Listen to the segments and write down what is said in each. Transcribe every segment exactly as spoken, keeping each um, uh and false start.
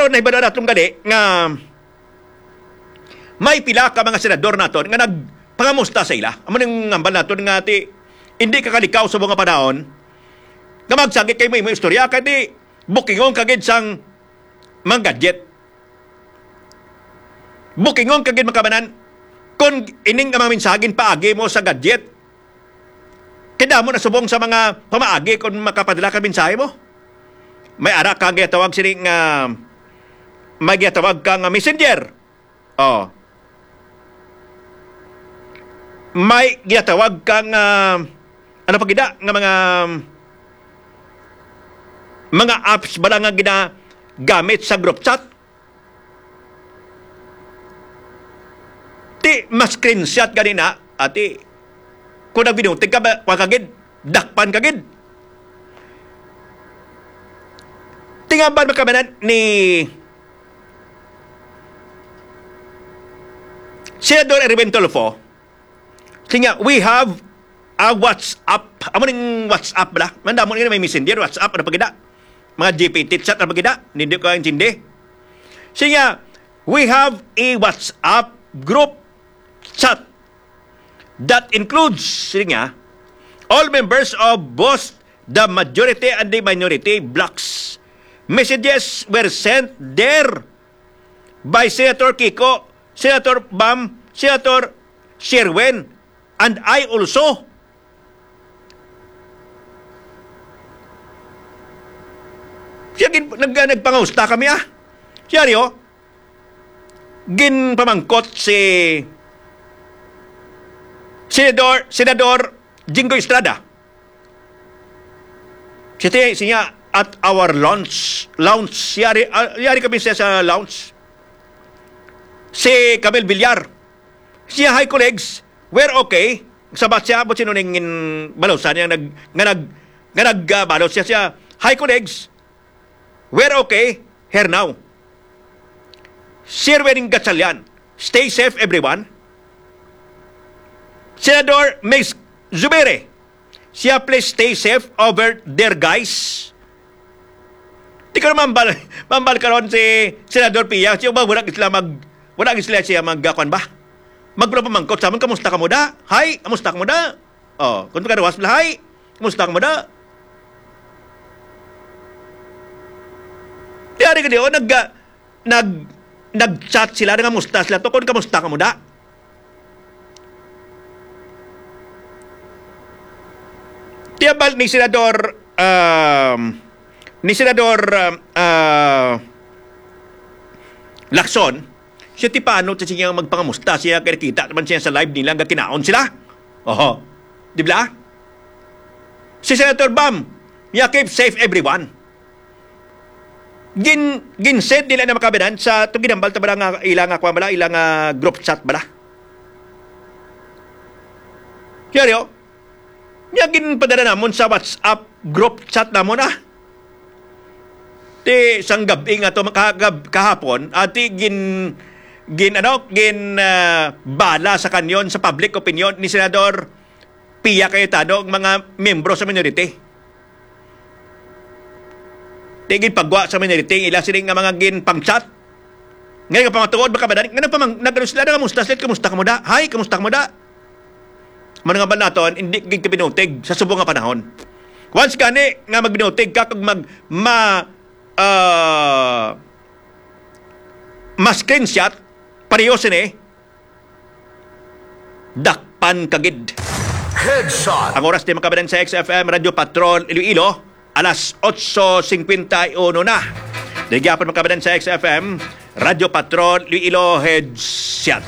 Pero nahibalo naton gali nga may pila ka mga senador naton nga nagpangamusta sa ila. Amo ning hambal naton nga ti, hindi ka kalikaw sa mga panahon nga magsagi kay mo imo istorya kay di bukingon ka gid sang mga gadget. Bukingon ka gid, mga kabanan, kung ining mga mensahe paagi mo sa gadget. Kay damo na subong sa mga pamaagi kung makapadala ka mensahe mo. May ara ka ginatawag sini nga, may ginatawag ka nga messenger. Oh. May ginatawag ka nga, ano pa gid na, nga mga, mga apps bala nga ginagamit sa group chat. Ti, mas screenshot gani na, ati. Kung nagbinutig ka, ba, wa ka gid, dakpan ka gid. Tingambal man kami na ni Senador Erwin Tulfo, siya nga, "We have a WhatsApp." Amo ning WhatsApp bala. Mandamo nga may messenger, WhatsApp, ano pa gid na? Mga G P T chat, ano pa gid na? Hindi ko intindi. Siya nga, "We have a WhatsApp group chat that includes," siya nga, "all members of both the majority and the minority blocs. Messages were sent there by Senator Kiko, Senator Bam, Senator Sherwin, and I also." Siya gin-, nag-, nagpangamusta kami, ah. Seryo? Ginpamangkot si Senador, Senador Jinggoy Estrada. Siya ti-, siya, "At our launch, lounge, yari, ah, yari kami siya sa lounge." Si Camille Villar. Siya, "Hi, colleagues. We're okay." Sabat siya, "But sino ning in-, balusan niya nag-, nga nag-, nga nag-, ah, balot siya, siya, 'Hi, colleagues. We're okay here now.'" Sherwin Gatchalian, "Stay safe, everyone." Senador Migz Zubiri, siya, "Please stay safe over there, guys." Di ko na mambal, mambal karon si Senador Pia. Siya ba, wala sila mag, wala sila siya mag, ah, kwan ba? Magpapamangkot sa amon, "Kamusta ka mo da? Hi, kamusta ka mo da?" Oh, kung pagkaruwas nila, "Hi, kamusta ka mo da?" Tiyari ka di, oh, nag, ah, nag, nag-chat sila, nangamusta sila to, kung kamusta ka mo da. Tiyabal ni Senador, um, ni Senador, um, ah, Lacson, siya ti paano siya magpangamusta siya kay nakita naman siya sa live nila nga kinaon sila. Oho. Di ba? Si Senator Bam, niya, "Keep safe, everyone." Gin-, gin-send nila na makabinan sa itong ginambal ta bala nga ila nga kwan bala, ila nga group chat bala. Seryo? Niya ginpadala namon sa WhatsApp group chat namon, ah. Ti sang gab-i nga to, maka-, gab-, kahapon, ati gin-, gin-, ano, gin-, ah, bala sa kanyon, sa public opinion ni Senador Pia Cayetano ang mga miyembro sa minority. Ti ginpagwa sa minority, ila sini nga mga ginpang-chat. Ngayon nga pamatuod, baka ba, nga nagpamang-, nag-, ano sila, "Kamusta sila? Kamusta ka mo da? Hi, kamusta ka mo da?" Mao nga ba naton, hindi gid ka binutig sa subong nga panahon. Once gani nga magbinutig ka kag mag-, ma-, ah, ma-screenshot, pareho sini, dakpan ka gid. Headshot. Ang oras di makabanan sa X F M Radyo Patrol Iloilo, alas otso cincuenta y uno na. Di gyapon makabanan sa X F M Radyo Patrol Iloilo, Headshot.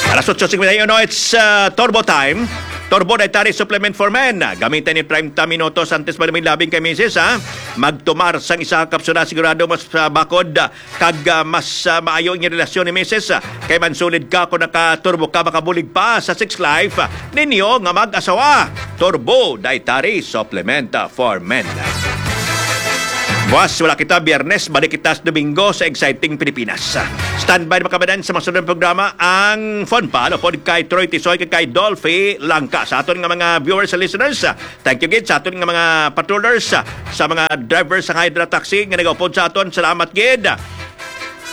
Alas otso cincuenta y uno, it's, uh, Turbo Time. Turbo Dietary Supplement for Men. Gamitan ni treinta minutos antes pa lumilabing kay misis, ha? Magtumar sang isa ka kapsula, sigurado mas, uh, bakod, uh, kag, uh, mas, uh, maayo ang relasyon ni misis, uh, kay mansulid ka kung naka-turbo ka, makabulig pa sa sex life, uh, ninyo nga mag-asawa. Turbo Dietary Supplement, uh, for Men. Buwas, wala kita. Biyernes, balik kita sa Domingo sa Exciting Pilipinas. Standby na, mga kababayan, sa masunod nga programa, ang Fun Pal, upod kay Troy Tisoy, kay, kay Dolphy Langka. Sa aton nga mga viewers and listeners, thank you gid. Sa aton nga mga patrollers, sa mga drivers sa Hydra Taxi nga nagaupod sa aton, salamat gid.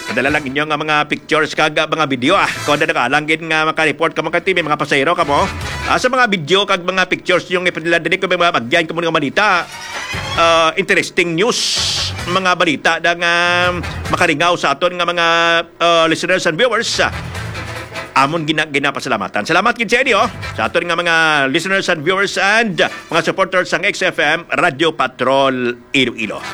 Padala lang inyo nga mga pictures kag, ah, mga video, ah. Kung ano, nakalang gid nga maka-report kamo kay T V, mga pasahero kamo. Ah, sa mga video kag mga pictures yung ipadala diri, kung may mga bagyan kamo nga balita, ah, interesting news, mga balita na nga makalingaw sa aton nga mga, ah, listeners and viewers, ah, amon gina-, ginapasalamatan. Salamat gid sa inyo, sa aton nga mga listeners and viewers and mga supporters sang X F M Radio Patrol Iloilo.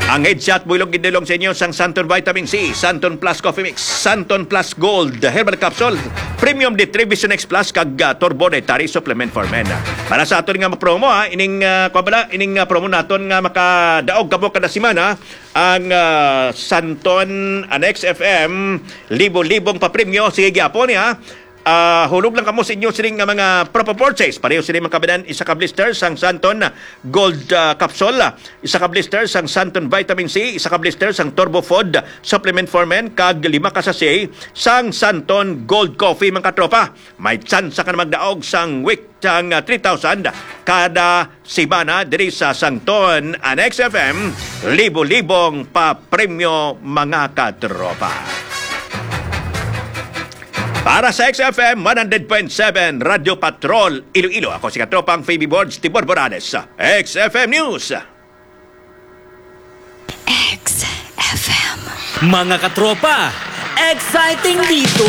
Ang headset buhilog gindulong sa inyo sang Santon Vitamin C, Santon Plus Coffee Mix, Santon Plus Gold Herbal Capsule, Premium D three Vision X Plus, kag, ah, Turbo Dietary Supplement for Men. Para sa aton nga promo, ha, ining, ah, kuwan bala, ining, ah, promo naton nga makadaog kamo kada semana, ang, ah, Santon, ang X F M, libo-libong papremyo. Sige gyapon, ha. Ah, hulog lang kamo sa inyo sining nga mga proper purchase. Pareho sini, mga kababayan, isa ka blister sang Santon Gold, ah, Capsule, isa ka blister sang Santon Vitamin C, isa ka blister sang Turbo Food Supplement for Men, kag lima ka sachet sang Santon Gold Coffee, mga katropa. May tsansa ka na magdaog sang week sang, ah, three thousand kada semana diri sa Santon, ang X F M, libo-libong papremyo, mga katropa. Para sa X F M one hundred point seven Radyo Patrol Iloilo, ako si katropang Phoebe Borge Tibor Borales, X F M News. X F M. Mga katropa, exciting dito!